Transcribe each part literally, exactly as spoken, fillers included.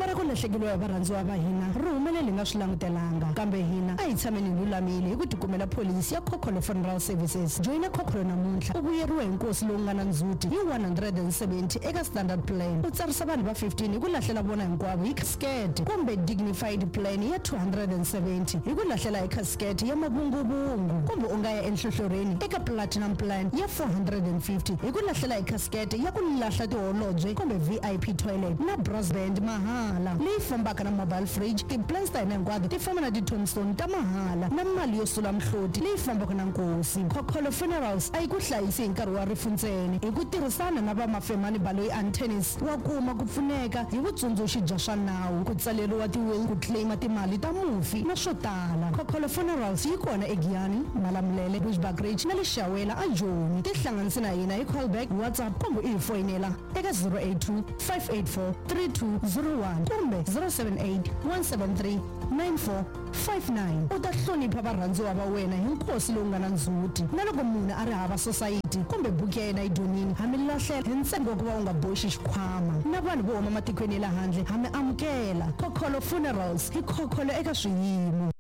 Khombo ra ku lahlekeriwa hi varhandziwa va hina ri humelele hi nga swi langutelanga, kambe hina a hi tshameni hi lulamile hi ku tikumela pholisi ya Khokholo Funeral Services. Joyina Khokholo namuntlha u vuyeriwa hi nkosi lowu nga na ndzhuti hi one hundred and seventy eka Standard Plan, u tsarisa vanhu va fifteen hi ku lahlela vona hinkwavo hi casket, kumbe Dignified Plan ya two hundred and seventy hi ku lahlela hi casket ya mavunguvungu, kumbe u nga ya enhlohlorhini eka Platinum Plan ya four hundred and fifty hi ku lahlela hi casket ya ku lahla tiholobye kumbe V I P toilet na brass band mahala leyi fambaka na mobile fridge. Ti-plans ta hina hinkwato ti famba na ti-tombstone ta mahala na mali yo sula mihloti leyi fambaka na nkosi. Khokholo Funerals a yi ku hlayisi hi nkarhi wa rifu ntsena. Hi ku tirhisana na va Mafemani Baloyi Attorneys, wa kuma ku pfuneka hi vutsundzuxi bya swa nawu, ku tsaleriwa ti-will, ku claima timali ta mufi na swo tala. Khokholo Funerals yi kona eGiyani, Malamulele, Bushbuckridge na le Xawela a Joni. Tihlanganise na hina hi callback, WhatsApp kumbe u hi foyinela eka zero eight two, five eight four, three two zero one kumbe zero seven eight, one seven three, nine four five nine. U ta hlonipha varhandziwa va wena hi nkosi lowu nga na ndzhuti. Na loko munhu a ri hava society kumbe buku ya yena yi donile, ha mi lahlela hi ntsengo wa ku va u nga boxi xikhwama. Na vanhu vo huma matikweni ya le handle ha mi amukela. Khokholo Funerals, hi khokholo eka swiyimo.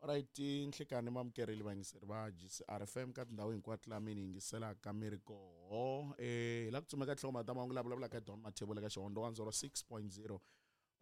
Alright, nhlikani mamukerile vayingiseri va G C R F M ka tindhawu hinkwato laha mi ni yingiselaka mi ri koho. Eh, hi la ku tsumeka tinhlokomhaka ta mahungu laha vulavulaka hi Don Mathebula ka Xihondzo one zero six point zero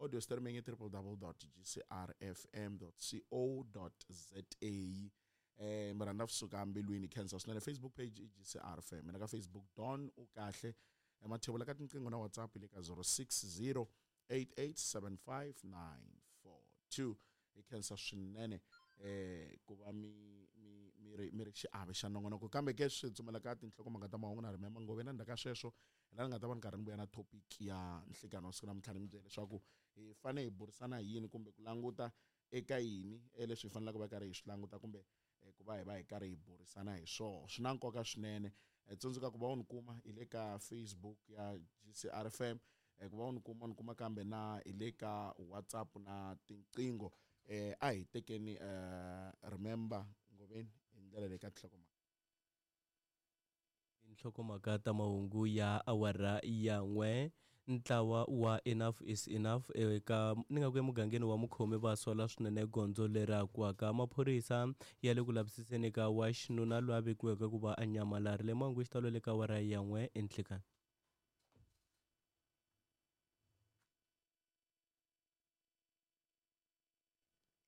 audio streaming i triple double dot G C R F M dot C O dot Z A. Eh, mi rhandza kusuka mbilwini khensa swinene. Facebook page i G C R F M, na ka Facebook Don u kahle. Eh, Mathebula ka tinqingho na WhatsApp le ka zero six zero eight eight seven five nine four two. Hi khensa swinene eh ku va mi mi mi ri mi ri xiave xa nongonoko. Kambe ke swi tsumela ka tinhlokomhaka ta mahungu na remember ngove na ndzhaku ka sweswo hi laha ni nga ta va ni karhi ni vuya na topic ya nhlikani wa siku namuntlha, ni mi byela leswaku hi fanele hi burisana hi yini kumbe ku languta eka yini leswi hi faneleke va karhi hi swi languta kumbe ku va hi va hi karhi hi burisana hi swona. Swi na nkoka swinene. Tsundzuka ku va u ni kuma hi le ka Facebook ya G C R F M, ku va u ni kuma u ni kuma kambe na hi le ka WhatsApp na tinqingho. Eh, a hi tekeni eh, remember Ngoveni hi ndlela leyi ka tinhlokomhaka. Tinhlokomhaka ta mahungu ya awara ya n'we. Ntlawa wa Enough is Enough eka ni nga ku emugangeni wa Mukhomi va sola swinene gondzo leri akiwaka. Maphorisa ya le ku lavisiseni ka wa xinuna loyi a vekiweke ku va a nyamalarile. Mahungu xitalo le ka awara ya n'we enhlikani.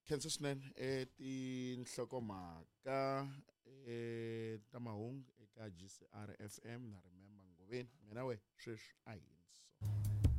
Khensa swinene eh tinhlokomhaka eh ta mahungu eka G C R F M na remember Ngoveni. Mina we sweswi a hi